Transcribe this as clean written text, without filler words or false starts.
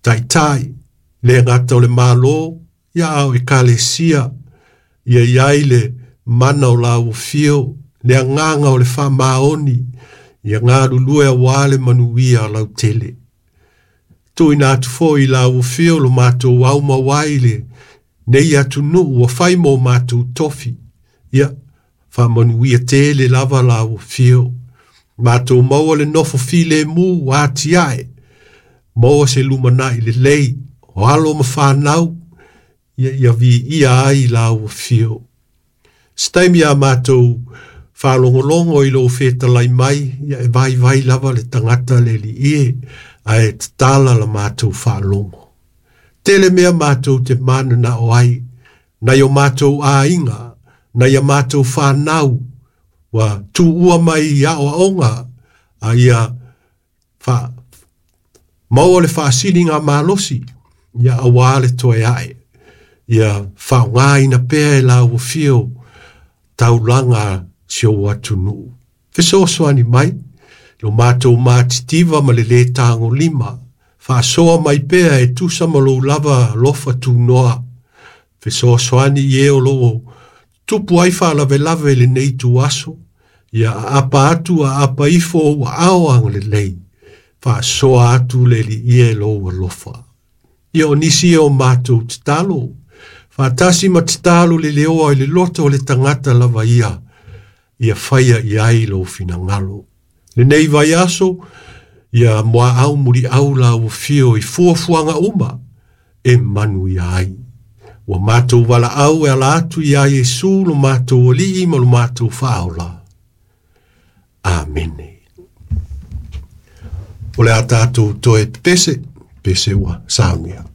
Taitai, le gata o le Malo, ia a o Ekalesia, ia i ai le mana o lau afio, le agaga o le faamaoni, ia galulue auā le manuia lautele. Tuuina atu foi i lau afio lo matou aumau ai i lenei atunuu ua fai mo matou tofi. Ia, faamanuia tele lava lau afio. Matou maua le nofo filemu ua atiae, maua se lumanai lelei, o alo ma fanau, ia ia viia ai lau afio. Se taimi a matou faalogologo i lou fetalai mai, ia e vaivai lava le tagata le Alii e, ae tatala la matou faalogo. Tele mea matou te mananao ai, nai o matou aiga, nai a matou fanau, ua tuua mai i aoaoga, a ia fa maua le faasiligamalosi, ia auā le toe ae. Ia faaaogaina pea e lau afio taulaga si ou atunuu. Fesoasoani mai, lo matou matitiva ma le lē tagolima, faasoa mai pea e tusa ma lou lava alofa tunoa. Fesoasoani i e o loo tupu ai faalavelave i lenei ituaso, ia aapa atu aapa ifo ou aao agalelei, faasoa atu le Alii e lou alofa. Ia o nisi ia o matou tatalo, faatasi ma tatalo le leoa i le loto o le tagata lava ia, ia faia i ai lou finagalo. Lenei vaiaso, ia muaau muliau lau afio i fuafuaga uma e manuia ai. Ua matou valaau e ala atu ia Iesu lo matou Alii ma lo matou Faaola. Amene. O le a tatou toe pepese, pese ua saunia.